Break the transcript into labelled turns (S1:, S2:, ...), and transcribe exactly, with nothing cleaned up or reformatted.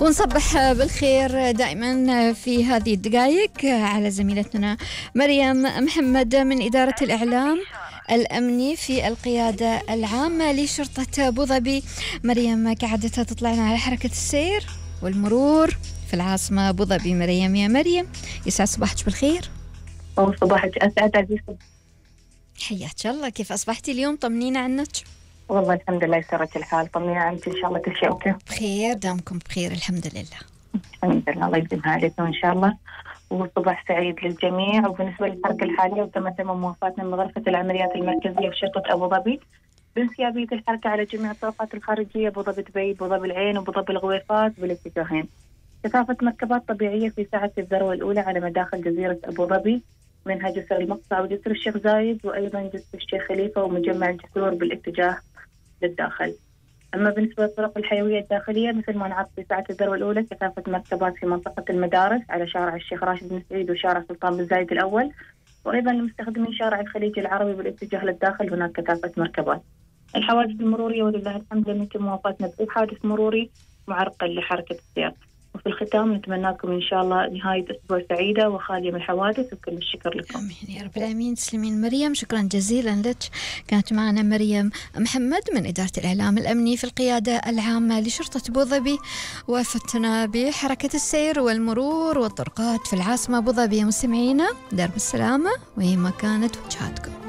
S1: ونصبح بالخير دائما في هذه الدقائق على زميلتنا مريم محمد من إدارة الإعلام الأمني في القيادة العامة لشرطة أبو ظبي. مريم كعادتها تطلعنا على حركة السير والمرور في العاصمة أبو ظبي. مريم يا مريم، يسعد صباحك بالخير.
S2: أو صباحك أسعد عزيزتي،
S1: حياك الله. كيف أصبحتي اليوم؟ طمنينا عنك.
S2: والله الحمد لله يسرك الحال. طمنينا عنك، إن شاء الله كل شيء أوكي
S1: بخير، دامكم بخير الحمد لله.
S2: الحمد لله، الله يديمها عليكم إن شاء الله، وصباح سعيد للجميع. وبالنسبة للحركة الحالية وتم تم موافاتنا من غرفة العمليات المركزية في شرطة أبو ظبي بانسيابية الحركة على جميع الطرقات الخارجية، أبو ظبي دبي، أبو ظبي العين، وأبو ظبي الغويفات بالاتجاهين. كثافة مركبات طبيعية في ساعة الذروة الأولى على مداخل جزيرة أبو ظبي، منها جسر المقطع وجسر الشيخ زايد، وأيضا جسر الشيخ خليفة ومجمع الجسور بالاتجاه للداخل. أما بالنسبة للطرق الحيوية الداخلية مثل ما نعرف في ساعة الذروة الأولى كثافة مركبات في منطقة المدارس على شارع الشيخ راشد بن سعيد وشارع سلطان بن زايد الأول، وأيضا لمستخدمين شارع الخليج العربي بالاتجاه للداخل هناك كثافة مركبات. الحوادث المرورية ولله الحمد لم يتم موافاتنا بأي حادث مروري معرقل لحركة السير. وفي الختام نتمنى لكم إن شاء الله نهاية أسبوع سعيدة وخالية من الحوادث، وكل الشكر لكم.
S1: آمين يا رب العالمين. تسلمين مريم، شكرا جزيلا لك. كانت معنا مريم محمد من إدارة الإعلام الأمني في القيادة العامة لشرطة أبو ظبي، وفتنا بحركة السير والمرور والطرقات في العاصمة أبو ظبي. مستمعينا درب السلامة وين ما كانت وجهاتكم.